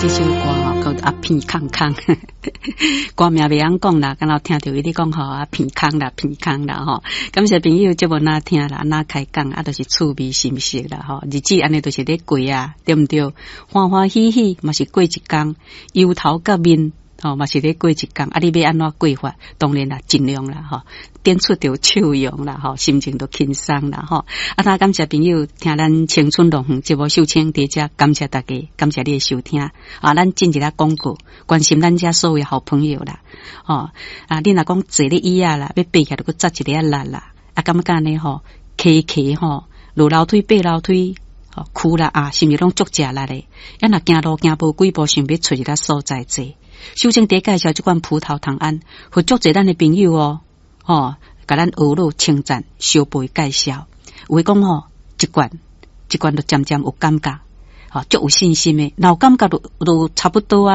這首歌吼，叫做阿鼻空空，歌名袂曉講啦，敢若聽著伊咧講吼，阿鼻空啦，鼻空啦吼。感謝朋友節目若聽啦，若開講啊，就是趣味心識啦吼。日子按呢就是咧過啊，對毋對？歡歡喜喜嘛是過一工，憂頭佮面吼嘛是咧過一工。啊，你欲按怎過法？當然啦，盡量啦吼，點出著笑容啦吼，心情都輕鬆啦吼。啊，那感謝朋友聽咱青春樂園節目秀清佇遮，感謝大家，感謝你的收聽。啊，咱進一下廣告，關心咱遮所有好朋友啦。吼，啊，你若講坐咧椅仔啦，欲爬起來閣紮一下力啦，啊，感覺按呢吼，騎騎吼，落樓梯爬樓梯，吼，跍啦啊，是毋是攏足食力的？啊，若行路行無幾步，想欲揣一个所在坐。秀清佇介紹這款葡萄糖胺，予足濟咱的朋友哦，吼，共咱學路稱讚，相背介紹。有的講吼，一罐一罐就漸漸有感覺，吼，足有信心的，若有感覺就差不多啊。